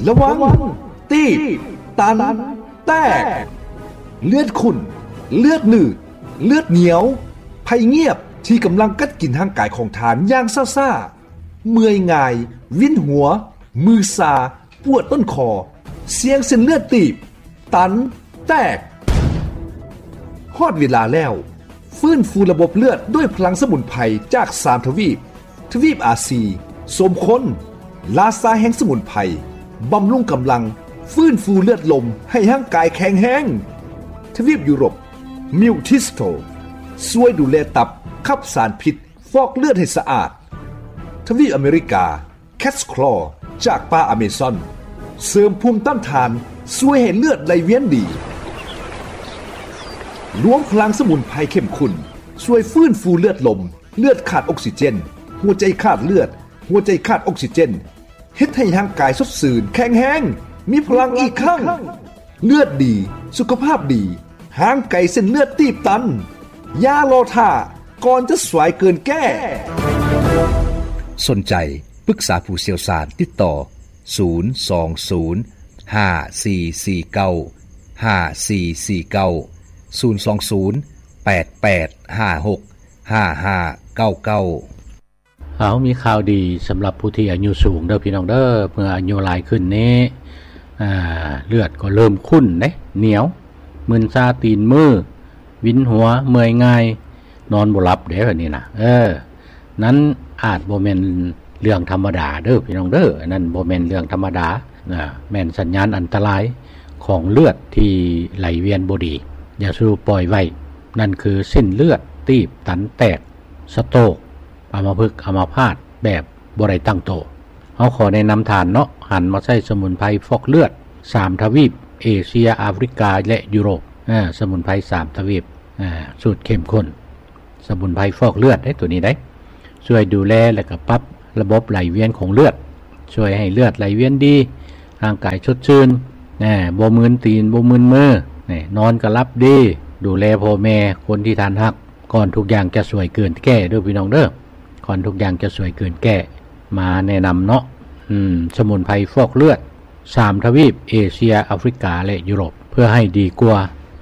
ລະວັງ ຕີບ ຕັນ ແຕກ ເລືອດຂຸ້ນ ເລືອດໜືດ ເລືອດໜຽວ ໄພງຽບທີ່ກຳລັງກັດກິນຮ່າງກາຍຂອງທ່ານຢ່າງຊ້າໆ, ເມື່ອຍງ່າຍ, ວິນຫົວ, ມືຊາ, ປວດຕົ້ນຄໍ, ສ່ຽງເສັ້ນເລືອດຕີບ, ຕັນ, ແຕກ. ຮອດເວລາແລ້ວ, ຟື້ນຟູລະບົບເລືອດດ້ວຍພະລັງສະໝຸນໄພຈາກສາມທະວີບ, ທະວີບອາຊີ, ສົມຄົນ, ລາຊາແຫ່ງສະໝຸນໄພ, ບຳລຸງກຳລັງ, ຟື້ນຟູເລືອດລົມໃຫ້ຮ່າງກາຍແຂງແຮງ. ທະວີບຢູໂຣບ, ມິວທິສໂຕ, ຊ່ວຍດູແລຕັບ, ຂັບສານພິດ, ຟອກເລືອດໃຫ້ສະອາດ. ທະວີບອາເມລິກາ, ແຄດສະຄລໍຈາກປ່າອາເມຊອນ ເສີມພູມຕ້ານທານ, ຊ່ວຍໃຫ້ເລືອດໄຫຼວຽນດີ. ລວມພະລັງສະໝຸນໄພເຂັ້ມຂຸ້ນ ຊ່ວຍຟື້ນຟູເລືອດລົມ, ເລືອດຂາດອົກຊີເຈນ, ຫົວໃຈຂາດເລືອດ, ຫົວໃຈຂາດອົກຊີເຈນ, ເຮັດໃຫ້ຮ່າງກາຍສົດຊື່ນ, ແຂງແຮງ, ມີພະລັງອີກຄັ້ງ. ເລືອດດີ, ສຸຂະພາບດີ, ຫ່າງໄກເສັ້ນເລືອດຕີບຕັນ. ຢ່າລໍຖ້າ, ກ່ອນຈະສວຍເກີນແກ້. ສົນໃຈ ປຶກສາຜູ້ຊ່ຽວຊານ, ຕິດຕໍ່ ສູນສອງສູນ ຫ້າສີ່ສີ່ເກົ້າ ຫ້າສີ່ສີ່ເກົ້າ, ສູນສອງສູນ ແປດແປດຫ້າຫົກ ຫ້າຫ້າເກົ້າເກົ້າ. ເຮົາມີຂ່າວດີສຳລັບຜູ້ທີ່ອາຍຸສູງເດີພີ່ນ້ອງເດີ. ເມື່ອອາຍຸຫຼາຍຂຶ້ນນີ້ ອ່າ ເລືອດກໍເລີ່ມຂຸ້ນເດ້, ໜຽວ, ມຶນຊາຕີນມື, ວິນຫົວ, ເມື່ອຍງ່າຍ, ນອນບໍ່ຫຼັບເດ້ ແບບນີ້ນະ. ເອີ ນັ້ນອາດບໍ່ແມ່ນເລື່ອງທຳມະດາເດີພີ່ນ້ອງເດີ. ອັນນັ້ນບໍ່ແມ່ນເລື່ອງທຳມະດານະ, ແມ່ນສັນຍານອັນຕະລາຍຂອງເລືອດທີ່ໄຫຼວຽນບໍ່ດີ. ຢ່າສູ່ປ່ອຍໄວ້, ນັ້ນຄືເສັ້ນເລືອດຕີບ, ຕັນ, ແຕກ, ສະໂຕກ, ອຳມະພຶກ, ອຳມະພາດແບບບໍ່ໄດ້ຕັ້ງໂຕ. ເຮົາຂໍແນະນຳທ່ານເນາະ, ຫັນມາໃຊ້ສະໝຸນໄພຟອກເລືອດສາມທະວີບ, ເອເຊຍ, ອາຟຣິກາ ແລະ ຢູໂຣບ. ເອີ ສະໝຸນໄພສາມທະວີບ, ເອີ ສູດເຂັ້ມຂຸ້ນ, ສະໝຸນໄພຟອກເລືອດເດ້ ໂຕນີ້ເດ້. ຊ່ວຍດູແລ ແລະ ກໍປັບລະບົບໄຫຼວຽນຂອງເລືອດ, ຊ່ວຍໃຫ້ເລືອດໄຫຼວຽນດີ, ຮ່າງກາຍສົດຊື່ນ, ແນ່ ບໍ່ມຶນຕີນ, ບໍ່ມຶນມື, ແນ່ ນອນກໍຫຼັບດີ. ດູແລພໍ່ແມ່, ຄົນທີ່ທ່ານຮັກ, ກ່ອນທຸກຢ່າງຈະສວຍເກີນແກ້ເດີພີ່ນ້ອງເດີ. ກ່ອນທຸກຢ່າງຈະສວຍເກີນແກ້, ມາແນະນຳເນາະ. ອືມ ສະໝຸນໄພຟອກເລືອດ ສາມທະວີບ, ເອເຊຍ, ອາຟຣິກາ ແລະ ຢູໂຣບ, ເພື່ອໃຫ້ດີກວ່າ.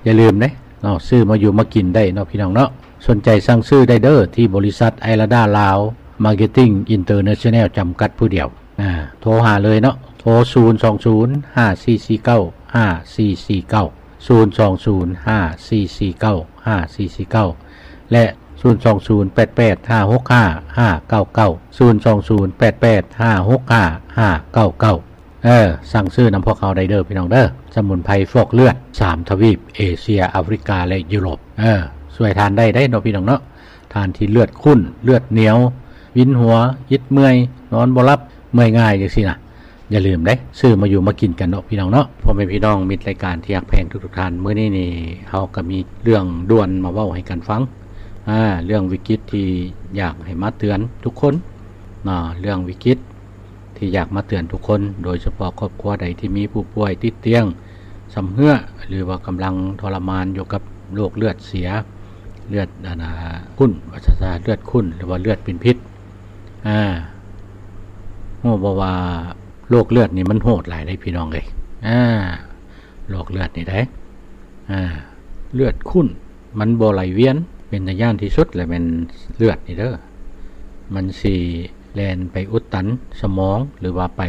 ຢ່າລືມເດ້ເນາະ, ຊື້ມາຢູ່ມາກິນໄດ້ເນາະ ພີ່ນ້ອງເນາະ. ສົນໃຈສັ່ງຊື້ໄດ້ເດີ ທີ່ບໍລິສັດໄອລາດາລາວ ມາເກັດຕິງ ອິນເຕີເນຊັນແນວ ຈຳກັດຜູ້ດຽວ. ອ່າ ໂທຫາເລີຍເນາະ, ໂທ ສູນສອງສູນ ຫ້າສີ່ສີ່ເກົ້າ ຫ້າສີ່ສີ່ເກົ້າ, ສູນສອງສູນ ຫ້າສີ່ສີ່ເກົ້າ ຫ້າສີ່ສີ່ເກົ້າ ແລະ ສູນສອງສູນ ແປດແປດຫ້າຫົກຫ້າ ຫ້າເກົ້າເກົ້າ, ສູນສອງສູນ ແປດແປດຫ້າຫົກຫ້າ ຫ້າເກົ້າເກົ້າ. ເອີ ສັ່ງຊື້ນຳພວກເຮົາໄດ້ເດີພີ່ນ້ອງເດີ. ສະໝຸນໄພຟອກເລືອດສາມທະວີບ, ເອເຊຍ, ອາຟຣິກາ ແລະ ຢູໂຣບ. ເອີ ຊ່ວຍທ່ານໄດ້ເດ້ເນາະ ພີ່ນ້ອງເນາະ. ທ່ານທີ່ເລືອດຂຸ້ນ, ເລືອດໜຽວ, ວິນຫົວ, ອິດເມື່ອຍ, ນອນບໍ່ຫຼັບ, ເມື່ອຍງ່າຍ ຈັ່ງຊີ້ນະ, ຢ່າລືມເດ້, ຊື້ມາຢູ່ມາກິນກັນເນາະ ພີ່ນ້ອງເນາະ. ພໍ່ແມ່ພີ່ນ້ອງມິດລາຍການທີ່ຮັກແພງທຸກໆທ່ານ, ມື້ນີ້ນີ້ເຮົາກໍມີເລື່ອງດ່ວນມາເວົ້າໃຫ້ກັນຟັງ. ອາ ເລື່ອງວິກິດທີ່ຢາກໃຫ້ມາເຕືອນທຸກຄົນເນາະ, ເລື່ອງວິກິດ ທີ່ຢາກມາເຕືອນທຸກຄົນ, ໂດຍສະເພາະຄອບຄົວໃດທີ່ມີຜູ້ປ່ວຍຕິດຕຽງຊຳເຮື້ອ ຫຼືວ່າກຳລັງທໍລະມານຢູ່ກັບໂລກເລືອດເສຍ, ເລືອດ ອັນນ່າ ຂຸ້ນ ວ່າຊັ້ນຊະ, ເລືອດຂຸ້ນ ຫຼືວ່າເລືອດເປັນພິດ. ອາ ຮູ້ບໍ່ວ່າໂລກເລືອດນີ້ມັນໂຫດຫຼາຍເດ້ ພີ່ນ້ອງເອີຍ. ອາ ໂລກເລືອດນີ້ເດ້ ອາ ເລືອດຂຸ້ນ ມັນບໍ່ໄຫຼວຽນ, ເປັນຕາຢ້ານທີ່ສຸດແຫຼະແມ່ນເລືອດນີ້ເດີ. ມັນຊິແລ່ນໄປອຸດຕັນສະໝອງ ຫຼືວ່າໄປ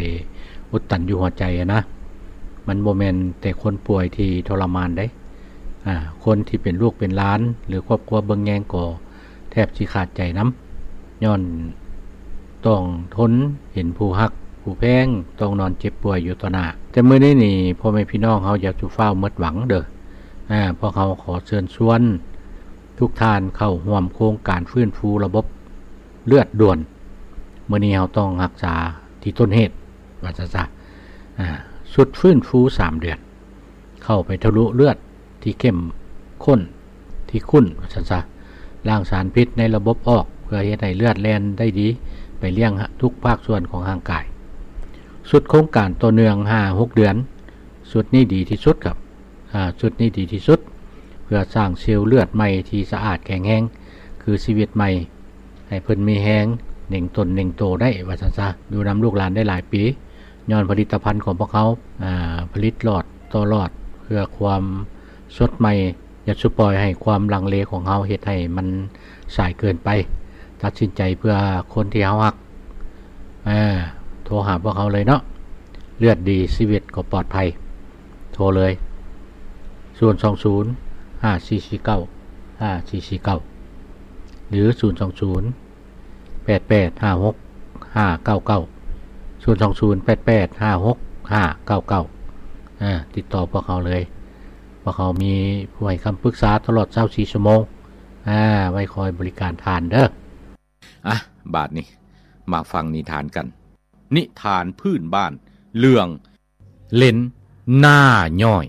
ອຸດຕັນຢູ່ຫົວໃຈຫັ້ນນະ. ມັນບໍ່ແມ່ນແຕ່ຄົນປ່ວຍທີ່ທໍລະມານເດ້, ອາ ຄົນທີ່ເປັນລູກເປັນຫຼານ ຫຼືຄອບຄົວເບິ່ງແຍງກໍແທບຊິຂາດໃຈນຳ, ຍ້ອນຕ້ອງທົນເຫັນຜູ້ຮັກຜູ້ແພງຕ້ອງນອນເຈັບປ່ວຍຢູ່ຕໍ່ໜ້າ. ແຕ່ມື້ນີ້ນີ້ ພໍ່ແມ່ພີ່ນ້ອງເຮົາຢ່າສູ່ຟ້າວໝົດຫວັງເດີ. ອາ ພວກເຮົາຂໍເຊີນຊວນທຸກທ່ານເຂົ້າຮ່ວມໂຄງການຟື້ນຟູລະບົບເລືອດດ່ວນ. ມື້ນີ້ເຮົາຕ້ອງຮັກສາທີ່ຕົ້ນເຫດ ວ່າຊັ້ນຊະ. ອາ ຊຸດຟື້ນຟູສາມເດືອນ ເຂົ້າໄປທະລຸເລືອດທີ່ເຂັ້ມຂຸ້ນ ທີ່ຂຸ້ນ ວ່າຊັ້ນຊະ, ລ້າງສານພິດໃນລະບົບອອກ ເພື່ອເຮັດໃຫ້ເລືອດແລ່ນໄດ້ດີ ໄປລ້ຽງທຸກພາກສ່ວນຂອງຮ່າງກາຍ. ຊຸດໂຄງການຕໍ່ເນື່ອງຫ້າຫົກເດືອນ, ຊຸດນີ້ດີທີ່ສຸດຄັບ. ອາ ຊຸດນີ້ດີທີ່ສຸດ ເພື່ອສ້າງເຊວເລືອດໃໝ່ທີ່ສະອາດແຂງແຮງ ຄືຊີວິດໃໝ່ ໃຫ້ເພິ່ນມີແຮງເໜັງຕົນເໜັງໂຕໄດ້ ວ່າຊັ້ນຊະ, ຢູ່ນຳລູກຫຼານໄດ້ຫຼາຍປີ. ຍ້ອນຜະລິດຕະພັນຂອງພວກເຮົາ ອາ ຜະລິດຫຼອດຕໍ່ຫຼອດ ເພື່ອຄວາມສົດໃໝ່. ຢ່າສູ່ປ່ອຍໃຫ້ຄວາມລັງເລຂອງເຮົາເຮັດໃຫ້ມັນສາຍເກີນໄປ. ຕັດສິນໃຈເພື່ອຄົນທີ່ເຮົາຮັກ. ອາ ໂທຫາພວກເຮົາເລີຍເນາະ. ເລືອດດີຊີວິດກໍປອດໄພ. ໂທເລີຍ ສູນສອງສູນ ຫ້າສີ່ສີ່ເກົ້າ ຫ້າສີ່ສີ່ເກົ້າ ຫຼື ສູນສອງສູນ ແປດແປດຫ້າຫົກຫ້າເກົ້າເກົ້າ ສູນສອງສູນ ແປດແປດຫ້າຫົກຫ້າເກົ້າເກົ້າ. ອາ ຕິດຕໍ່ພວກເຮົາເລີຍ. ພວກເຮົາມີຜູ້ໃຫ້ຄຳປຶກສາຕະຫຼອດຊາວສີ່ຊົ່ວໂມງ. ອາ ໄວ້ຄອຍບໍລິການທ່ານເດີ້. ອາ ບາດນີ້ມາຟັງນິທານກັນ. ນິທານພື້ນບ້ານເລື່ອງ ເຫຼັນໜ້າຍ້ອຍ.